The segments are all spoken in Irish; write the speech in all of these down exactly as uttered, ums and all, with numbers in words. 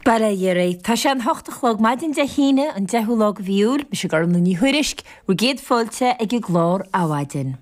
Bail ó Dhia oraibh. Tá sé an hocht a chlog maidin Dé hAoine, an deichiú lá de mhí Iúil. Mise Gormlaith Ní Thuairisg, bhur gcéad fáilte ag an gclár Adhmhaidin.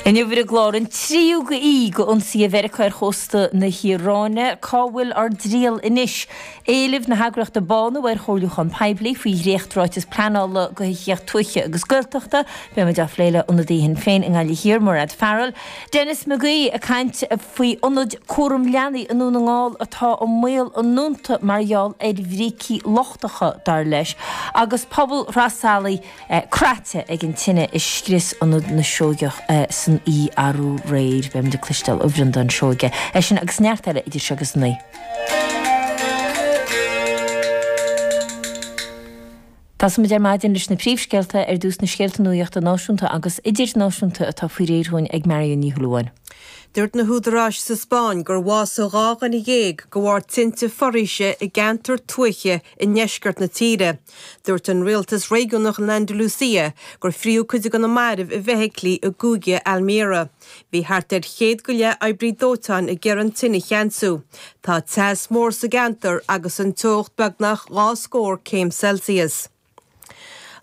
Inniu ar an gclár an tríú oíche d'ionsaithe Mheiriceá ar chósta na hIaráine. Cá bhfuil ár dtriall anois? Éileamh na heagraíochta Bánú ar chomhairliúchán poiblí faoi dhréachtráiteas pleanála do thithíocht tuaithe agus Gaeltachta. Beidh muid á phlé le ionadaí Shinn Féin i nGaillimh Thiar, Mairéad Farrell. Denis McGee ag caint faoi ionad cúram leanaí i nDún na nGall atá i mbaol a ndúnta mar gheall ar bhrící lochtacha, dar leis, agus pobal Shraith Salaigh craite ag an tine a scrios Ionad na Seoigeach san oíche arú aréir. Beidh muid ag cloisteáil ó Bhreandán Seoige. É sin agus neart eile idir seo agus a naoi. Tosóimid ar maidin leis na príomhscéalta, ar dtús na scéalta nuachta náisiúnta agus idirnáisiúnta atá faoi réir dhúinn ag Marion Ní Shúilleabháin. Dúirt na húdaráis sa Spáinn gur bhásaigh dhá dhuine dhéag de bharr tinte foraoise i gceantar tuaithe i ndeisceart na tíre. Dúirt an rialtas réigiúnach in Andalusia gur fríothadh cuid de na mairbh i bhfeithiclí i gcúige Almería. Bhí thart ar chéad go leith oibrí dóiteáin ag iarraidh an tine a cheansú. Tá teas mór sa gceantar agus an teocht beagnach dhá scór céim Celsius.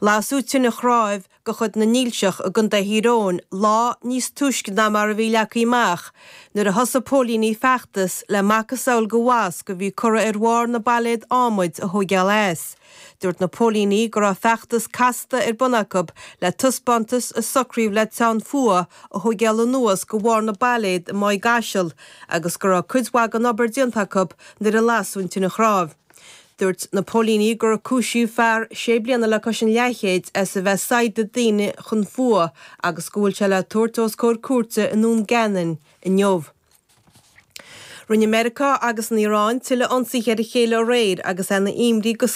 Lasadh tine chnáimh de chuid na nDílseach i gContae Thír Eoghain lá níos túisce ná mar a bhí leagtha amach nuair a thosaigh póilíní feachtas le macasamhail de mhasc a bhí curtha ar bharr na bpailléad adhmaid a thóigeáil as. Dúirt na póilíní go raibh feachtas casta ar bun acu le taispeántas a socraíodh le teann fuatha a thóigeáil anuas de bharr na bpailléad i Maigh gCaiseal agus go raibh cuid mhaith den obair déanta acu nuair a lasadh an tine chnámh. Dúirt na póilíní gur cúisíodh fear sé bliana le cois an leathchéid as a bheith ag saighdeadh daoine chun fuatha agus go bhfuil sé le tabhairt os comhair cúirte i nDún Geanainn inniu. Rinne Meiriceá agus an Iaráin tuilleadh ionsaithe ar a chéile aréir agus é ina imní go